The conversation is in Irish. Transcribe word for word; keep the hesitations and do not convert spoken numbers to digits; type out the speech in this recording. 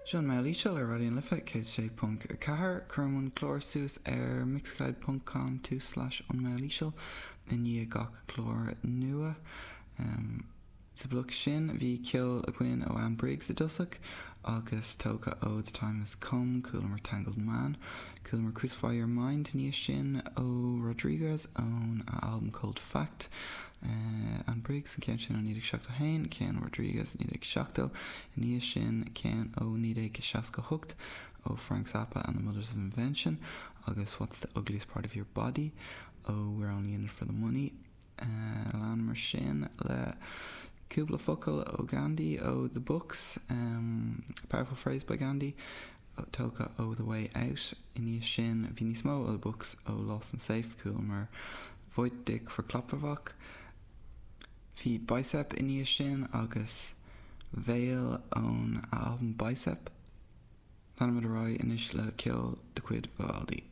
Seo an Mheall Íseal ar Raidió na Life céad sé ponc a ceathair. Cuirim an clár suas ar mixcloud ponc com tulslais an Mheall Íseal i ndiaidh gach clár nua. Um, sa bloc sin bhí ceol againn ó Anne Briggs i dtosach agus tógtha ó The Time Has Come, Chualamar Tangled Man, Chualamar Crucify Your Mind níos sin ó Rodriguez ón album Cold Fact. Uh, Anne Briggs an ceann sin ó naoi déag seachtó haon, ceann Rodriguez naoi déag seachtó, níos sin ceann ó naoi déag seasca hocht ó Frank Zappa and the Mothers of Invention agus What's the Ugliest Part of Your Body ó We're Only in It for the Money. Uh, leanamar sin le cúpla focal ó Gandhi ó The Books, um, Powerful Phrase by Gandhi, tógtha ó The Way Out iní sin bhí níos mó ó The Books ó Lost and Safe chualamar Voit Dick for Klappervach. Bhí Bicep iní sin agus Veil ón album Bicep. Leanfaimid ar aghaidh anois le ceol de chuid Vivaldi.